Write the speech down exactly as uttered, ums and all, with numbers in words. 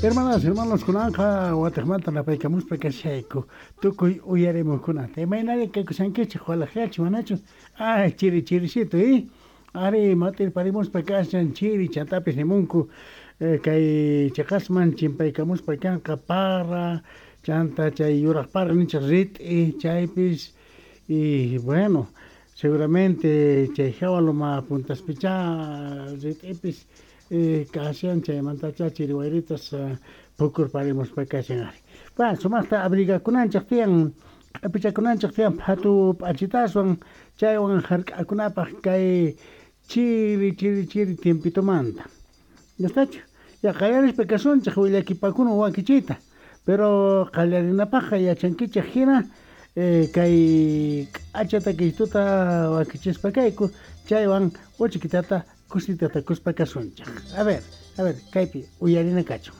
Hermanas, hermanos, kunanqa watejmanta napaykamuspa kashayku tukuy uyarimuqkunata. Imaynari kakushankichik walaqllachu manachu? Ay, chiri chirisito, eh? Ari matirparimuspa kashan chiri chantapis nimunku eh, kay cheqasman chimpaykamuspa kanqa para chanta chay yuraq para ninchik rit'i chaypis y bueno seguramente chay hawa loma puntaspichá rit'ipis eh, kashan chaymantacha chiri wayritas uh, pukurparimuspa kashan ari. Bueno, sumaqta abrigakunanchik tiyan q'apichakunanchik tiyan phatu p'achitaswan chaywan hark'akunapaq kay chiri chiri chiri tiempitomanta. ¿Ya estachu? Ya qallarispa kasunchik willakipakuna wakichiyta. Pero qallarinapaqqa yachankichik hina eh, kay k'acha takiytuta wakichispa kayku chaywan uchikitata kusitata kuspa kasunchik. A ver, a ver, kaypi uyarina kachun.